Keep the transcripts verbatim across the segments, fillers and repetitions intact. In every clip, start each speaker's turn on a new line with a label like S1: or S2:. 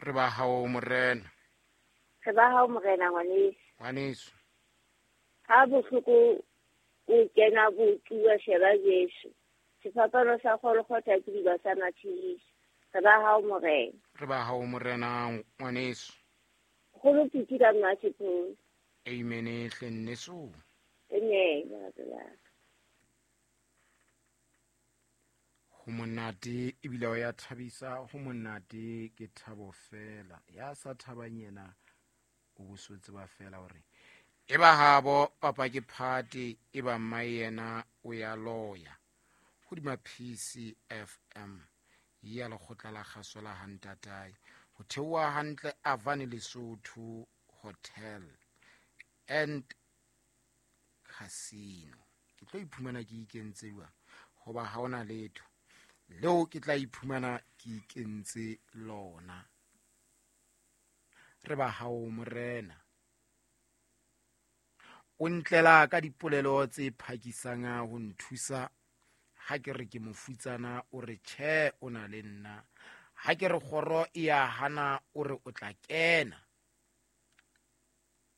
S1: Re ba hao morena.
S2: Re ba hao morena ngwaneso.
S1: Ngwaneso.
S2: Ha bohloko o kena botuwa sheba Jesu. Sefapano sa Golgotha ke diba sa matshediso. Re ba hao morena.
S1: Re ba hao morena ngwaneso.
S2: Go piti ka mmasepolo.
S1: Amen hle nneso.
S2: Amen lerato la ka.
S1: Ho monate ebile o ya thabisa, ho monate ke thabo fela. Ya sa thabang yena o bosotse ba fela hore e ba habo papa ke phate e ba mma yena o ya loya. Hodima P C F M ya lekgotla la kgaso la Hantatae ho theoha hantle Avani Lesotho Hotel and Casino. Ke tlo iphumana ke ikentse jwang hoba ha ona letho leo ke tla iphumana ke ikentse lona. Re ba hao morena. O ntlela ka dipolelo tse phakisang ho nthusa. Ha ke re ke mofutsana o re tjhe o na le nna. Ha ke re kgoro e ya hana o re o tla kena.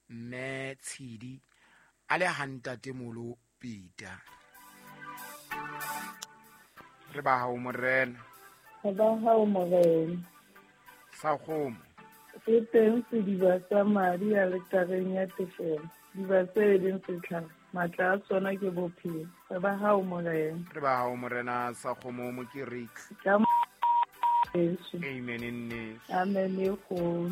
S1: Mme Tshidi a le hantate molo Peter. Re ba hao morena.
S3: Re ba hao morena.
S1: Sa kgomo.
S3: Se teng sediba sa madi a letareng ya tefelo. Diba tse leng setlhare, matla a tsona ke bophelo. Re ba hao morena.
S1: Re ba hao morena sa kgomo Mokereki.
S3: Ka Jesu.
S1: Amen nne.
S3: Amen e kgolo.